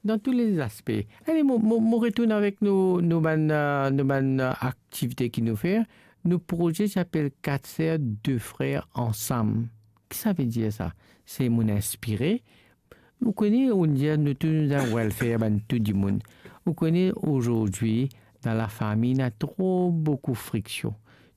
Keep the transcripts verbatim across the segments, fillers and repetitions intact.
Dan tou le zaspe. Ale, mo, mo, mo retourn avek nou, nou bann, euh, nou bann, euh, aktivite ki nou fer. Nou proze ti apel Kat Ser, De Frer Ansam. Ki sa ve dir sa? Se monn inspire. Ou kone, ou dir nou tou, nou dan welfare, bann tou dimoun. Ou kone, azordi, dan lafami, ena tro boukou friksion,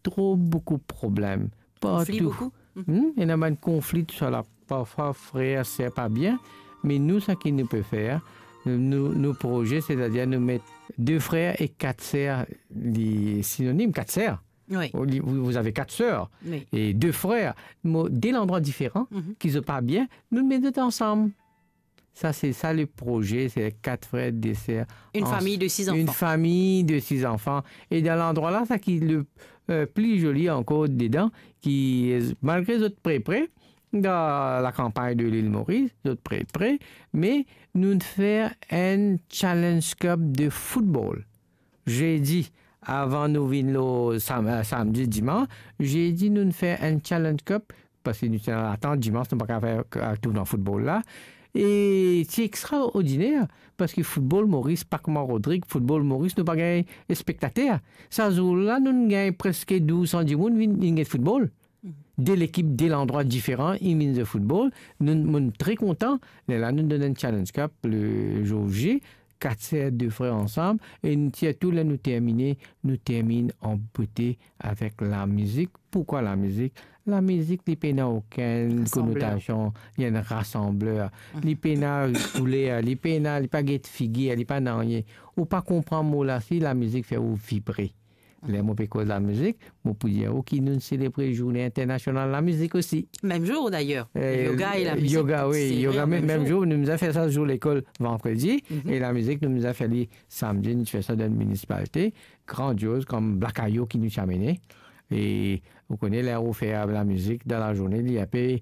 tro boukou problem. Konfli partou. Boukou. Hmm, ena bann konfli, tousala. Parfwa, frer, ser pa bien. Me nou, seki nou pe fer, nou, nou proze, setadir nou met de frer e kat ser, li sinonim, kat ser. Oui. Ou li, vous, vous avez quatre sœurs Oui. et deux frères. Mo, de landrwa diferan, Mhm. ki zot pa bien, nou met zot ansam. Sa, se sa le proze, se kat frer, de ser. Une Ans-, famille de six une enfants. famille de six enfants. E dan landrwa la, sa ki le, euh, pli zoli ankor dedan, ki, euh, malgre zot pre pre, dan lakanpagn de lil Moris, zot pre pre, me nou fer enn Challenge Cup de football. Zedi, avan nou vinn lor sam-, euh, samdi, dimans, zedi nou fer enn Challenge Cup, parski nou ti dan latant, dimans, nou pa kapav fer, euh, tournwa football la. E ti extraordiner, parski football Moris, pa kouma Rodrig, football Moris, nou pa gagn spektater. Sa zour la, nou gagn preske douz san dimoun vinn, vinn get football. Mhm. De lekip, de landrwa diferan, inn vinn zwe football. Nou, nou tre kontan. Lerla nou donn enn Challenge Cup le zour J, kat ser, de frer ansam, e nou tir tou, ler nou termine, nou terminn an bote avek lamizik. Pourkwa lamizik? Lamizik, li pena okenn Rasanbler. konotasion, li enn rasanbler. Mhm. Li pena kouler, li pena, li pa get figir, li pa nanye. Ou pa konpran mo la, si lamizik fer ou vibre. Ler mo pe koz lamizik, mo pou dir ou ki nou selebre Zourne Internasional Lamizik osi. Mem zour, dayer. Eh, Yoga e lamizik, yoga, wi, se yoga, vre, mem, mem mem zour. zour. Nou bizin fer sa zour lekol vandredi, Mhm. e lamizik, nou bizin fer li samdi, nou ti fer sa dan minisipalite, grandioz, kom Black Ayo ki nou ti amene. E ou kone, ler ou fer lamizik dan lazourne, li inpe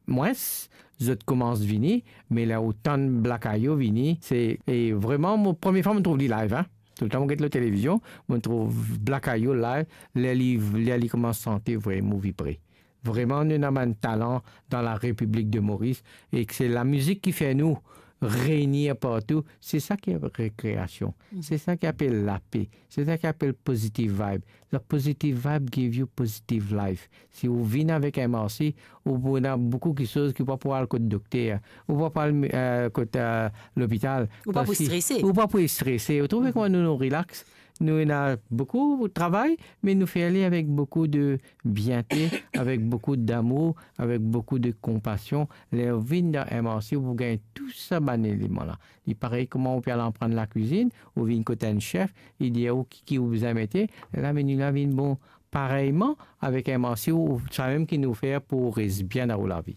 mwins, zot koumans vini, me ler ou tann Black Ayo vini, se, e vreman, mo, premie fwa mo trouv li live, hein. Toultan mo get lor televizion, mo trouv Black Ayo live, ler li, ler li koumans sante, vreman mo vibre. Vreman, nou ena bann talan dan la Repiblik de Moris, e ki se lamizik ki fer nou reynir partou. Se sa ki apel rekreasion. Mhm. Se sa ki apel lape. Se sa ki apel positive vibe. The positive vibe give you positive life. Si ou vinn avek M R C, ou pou ena boukou kiksoz ki ou pa pou al kot dokter, ou pa pou al, euh, kot, euh, lopital. Ou pa pou Parski strese. Ou pa pou strese. Ou trouve Mhm. kouma nou, nou relax. Nou ena boukou travay, me nou fer li avek boukou de biente, avek boukou damour, avek boukou de konpasion. Ler ou vinn dan M R C, ou pou gagn tou sa bann eleman la. Li parey kouma ou pe al aprann lakwizinn, ou vinn kot enn sef, li dir ou ki, ki ou bizin mete, lerla meni la vinn bon. Pareyman, avek M R C, ou, samem ki nou fer pou res bien dan ou lavi.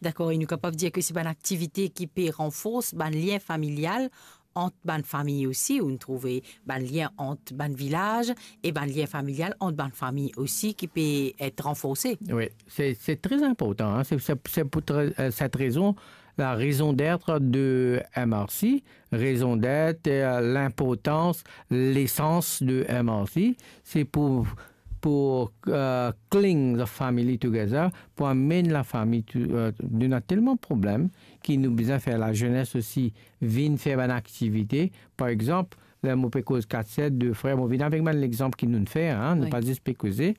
Dakor, e nou kapav dir ke se bann aktivite ki pe ranfors bann lien familial ant bann fami osi, ou nou trouve bann lien ant bann vilaz e bann lien familial ant bann fami osi ki pe et ranforse. Wi, se, se tre inportan, hein. Se, se, se pou tre-, euh, cette raison, la raison d'être de M R C, raison d'être, euh, l'inportans, lesans de M R C, se pou, pou, euh, cling the family together, pou amenn lafami tou-, euh, nou ena telman problem ki nou bizin fer lazenes osi vinn fer bann aktivite. Par exanp, ler mo pe koz kat ser, de frer, mo vinn avek bann lexanp ki nou fer, hein, nou Wi. pa zis pe koze.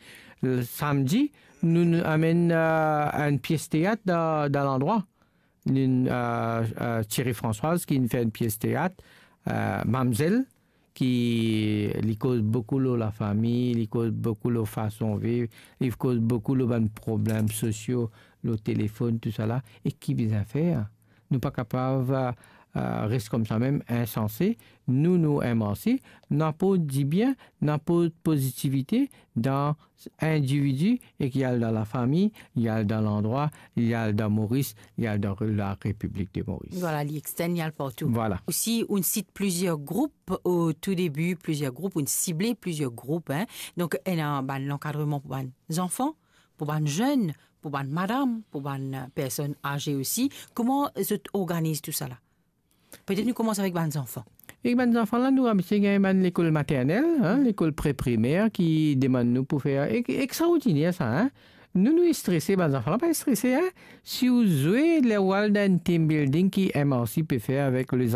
Le samdi, nou, nou amenn, euh, enn pies teat dan, dan landrwa. Enn, euh, euh, Thierry Françoise ki inn fer enn pies teat, euh, Mamzel, ki li koz boukou lor lafami, li koz boukou lor fason viv, li koz boukou lor bann problem sosio lor telefonn, tousala, e ki bizin fer? Nou pa kapav, euh, euh, res koumsa mem, insanse. Nou, nou M R C, nou aport dibien, nou aport pozitivite dan individi e ki al dan lafami, li al dan landrwa, li al dan Moris, li al dan la Repiblik de Moris. Vwala, li extern, li al partou. Vwala. Osi, ou'nn sit plizier group o tou debi, plizier group, ou'nn sible plizier group, hein. Donk, ena bann lankadreman pou bann zanfan, pou bann zenn, pou bann madam, pou bann, euh, personn aze osi. Kouma zot organiz tousala? Petet nou koumans avek bann zanfan. Ek bann zanfan la, nou abitie gagn bann lekol maternel, hein, lekol pre-primer ki demann nou pou fer, ek, ekstraordiner sa, hein. Nou, nou strese, bann zanfan la pa strese, hein. Si ou zwe, ler ou al dan enn team building ki M R C pe fer avek lezanfan,